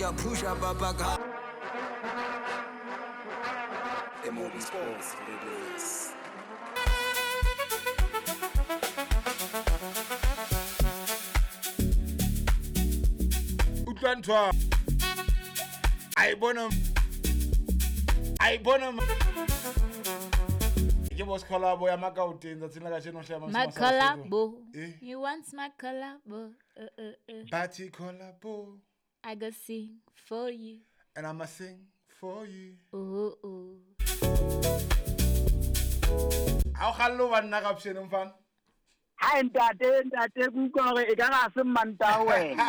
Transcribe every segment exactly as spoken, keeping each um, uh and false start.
I push up up back. M O B Sports Radio. Utlwa ntho. A bona a bona ke boss collabo ya Makauteng tsatsing la kajeno hle My collabo. You want my collabo? Uh, uh, uh. Party collabo. I go sing for you. And I'ma sing for you. Oh oh. Ha o kgallo ba nna ka pshene mfana. Ha ntate ntate ke utlwa hore e ka ga se mmanta wena.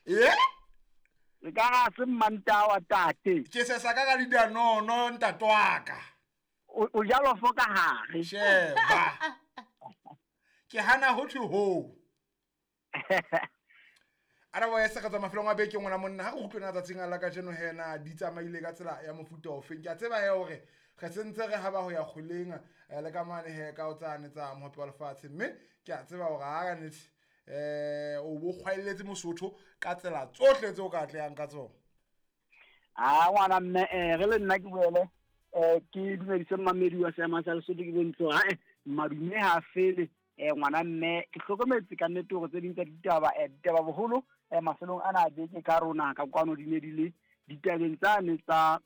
Yeah. E ka ga se mmanta wa tate. Ke se sa ka ka di no no ntate wa ka. O jalo fo ka hare. Sheba. Ke hana ho thwe ho. Ara wa yesa ka tsa mafelong a beke ngwana monna ha go utlwana tsatsing a la ka jeno hena di tsamaile ka tsela ya mofuta o feng. Ke a tseba he hore re sentse re haba ho ya kgoleng le ka mane he ka o tsane tsa mohope wa lefatshe, mme ke a tseba hore ha ka nete eh o bo kgwaeletse Mosotho ka tsela tsohle tseo ka atlehang ka tsona. Ah ngwana mme eh re le nna ke boele eh ke dumedise mmamedi wa seema sa Lesotho ke bontse ha eh madume ha fele eh ngwana mme ke hlokometse ka nnete hore tse ding tsa ditaba eh ditaba boholo eh mafelong ana a beke ka rona ka kwano di ne di le ditabeng tsane tsa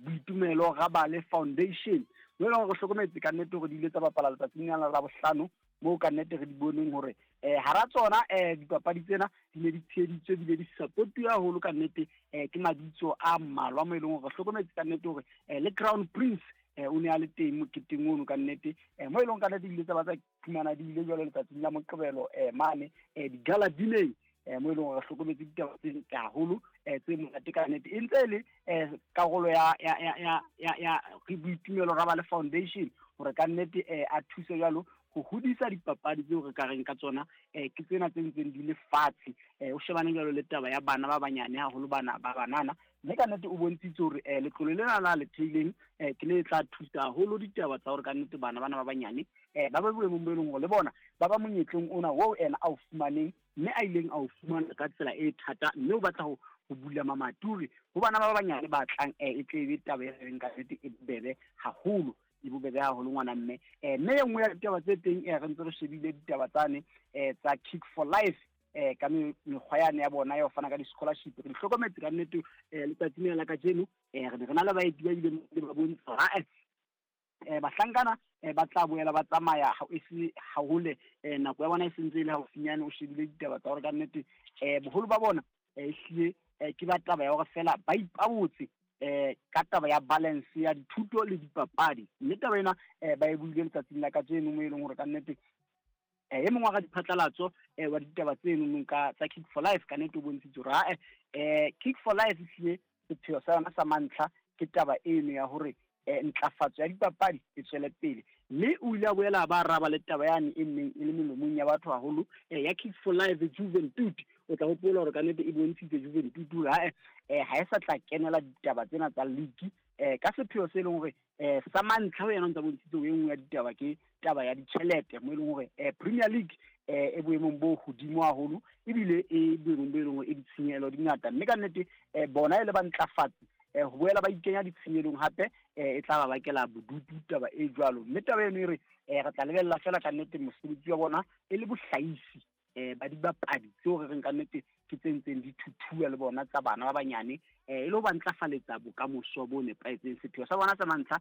Boitumelo Rabale Foundation. Mo e leng hore re hlokometse ka nnete hore di ile tsa bapala letsatsing lena la bohlano mo ka nnete re di boneng hore eh hara tsona eh dipapadi tsena di ne di tsheheditswe ebile di supportuwe haholo ka nnete eh ke mabitso a mmalwa mo e leng hore re hlokometse ka nnete hore eh le Crown Prince eh o ne a le teng moketeng ono ka nnete eh mo e leng ka nnete di ile tsa ba tsa fumana di ile jwalo letsatsing la Moqebelo eh mane eh di-gala dineng eh mo e leng hore re hlokometse ditaba tse ntle haholo eh tse monate ka nnete e ntse e le eh karolo ya ya ya ya ya Boitumelo Rabale Foundation hore ka nnete eh a thuse jwalo ho hodisa dipapadi tseo re ka reng ka tsona eh ke tsena tse ntseng di le fatshe eh o shebane jwalo le taba ya bana ba banyane haholo bana ba banana mme ka nnete o bontshitse hore eh letlole lena la le theileng eh ke le tla thusa haholo ditaba tsa hore ka nnete bana bana ba banyane eh ba ba boemong bo e leng hore le bona ba ba monyetleng ona oo ena a o fumaneng mme a ileng a o fumana ka tsela e thata mme o batla ho ho bula mamaturi ho bana ba banyane ba tlang eh e tle be taba e reng ka nnete e bobebe haholo e bobebe haholo ngwana mme eh mme e nngwe ya ditaba tse teng eh re ntse re shebile ditaba tsane eh tsa Kick for Life eh ka mekgwa yane ya bona ya ho fana ka di-scholarship. Re di hlokometse ka nnete eh letsatsing lena la kajeno eh re ne re na le baeti ba ileng ba bontsha hore eh bahlankana eh ba tla boela ba tsamaya ha e se hahole eh nako ya bona e sentse e le haufinyane. O shebile ditaba tsa hore ka nnete eh boholo ba bona eh ehlile eh ke ba taba ya hore fela ba ipabotse eh ka taba ya balance ya dithuto le dipapadi mme taba ena eh ba e buile letsatsing la kajeno mo e leng hore ka nnete eh e mongwe wa diphatlalatso eh wa ditaba tseno ka tsa Kick for Life ka nnete o bontshitse hore ha eh Kick for Life ehlile sepheo sa yona sa mantlha ke taba eno ya hore eh ntlafatso ya dipapadi e tswele pele mme o ile a boela ba araba le taba yane e neng e le melomong ya batho haholo eh ya Kick for Life Juventud. O tla hopola hore ka nnete e bontshitse Juventud ha eh ha e sa tla kenela ditaba tsena tsa league eh ka sepheo se leng hore eh sa mantlha ho yena o ntsa bontshitse e nngwe ya ditaba ke taba ya ditjhelete mo e leng hore eh Premier League eh e boemong bo hodimo haholo ebile e boemong bo e leng hore e ditshenyehelo di ngata mme ka nnete eh bona e le ba ntlafatsi eh ho boela ba ikenya ditshenyelong hape eh e tla ba bakela bodutu taba e jwalo mme taba eno e re eh re tla lebella fela ka nnete mosebetsi wa bona e le bohlaisi eh ba dibapadi tseo re reng ka nnete ke tse ntseng di thuthuwa le bona tsa bana ba banyane eh e le ho ba ntlafaletsa bokamoso bo nepahetseng. Sepheo sa bona sa mantlha